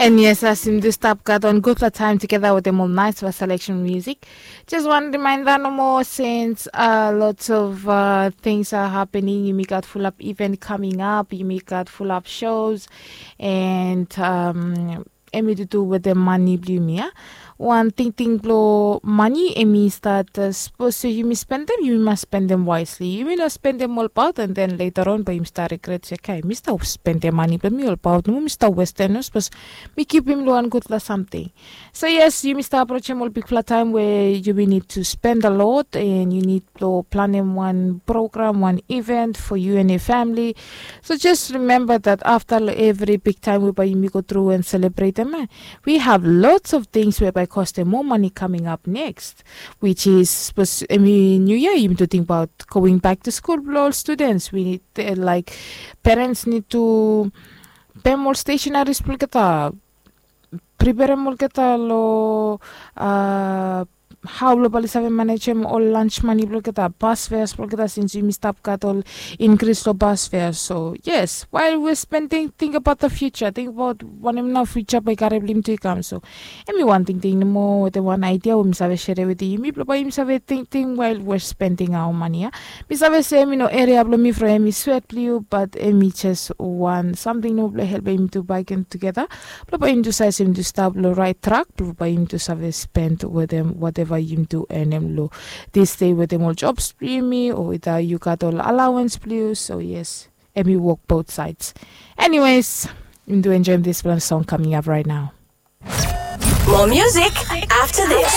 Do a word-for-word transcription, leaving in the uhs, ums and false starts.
And yes, as yumi do stap gat wan gutpela taim togeda wetem ol naisfala selection music. Just wan rimainda nomo, since uh, lots of uh, things are happening, yumi gat full up event coming up, yumi gat full up shows, and um, em i dudu wetem mani bilong yumi ya. Wan tingting bilong mani em i start uh, sapos yumi spendem, yumi mas spendem wisely. Yumi no spendem olbaut, and then later on bai yumi start regret se, kai, mi stap spendem mani bilong mi olbaut nomo, mi stap westem nomo, sapos mi kipim long wan gutpela samting. So yes, yumi stap aprochim ol bikpela taim we yumi need to spend a lot, and you need to planem wan program, wan event for you and your family. So just remember that after every big time we bai yumi go through and celebrate them, eh, we have lots of things we bai costem more money coming up next, which is, I mean, new year, yumi to think about going back to school bilong ol students. We need, uh, like, parents need to pem ol stationaries bilong olgeta, preparem olgeta long uh, hau bilong bai save manejem ol lunch money bilong olgeta, bus fares bilong olgeta, since yumi stap gat ol increase long bus fares. So yes, while we're spending, think about the future, think about wanem na future bai karim bilong yumi tu i kam. So em i wan tingting nomo wetem wan idea we mi save share wetem yumi bilong bai yumi save tingting while we're spending our money ya. Mi save se em i no area bilong mi from em i swet bilong yu, but em i just wan samting nomo bilong helpim yumi tu bai kam togeda bilong bai yumi tu save se yumi tu stap long rait trak bilong bai yumi tu save spend wetem whatever yumi tu earnem long this day wetem ol jobs bilong yumi, o ita yu gat ol allowance bilong yu. So yes, em i work both sides. Anyways, yumi tu enjoyim dispela song coming up right now. More music after this.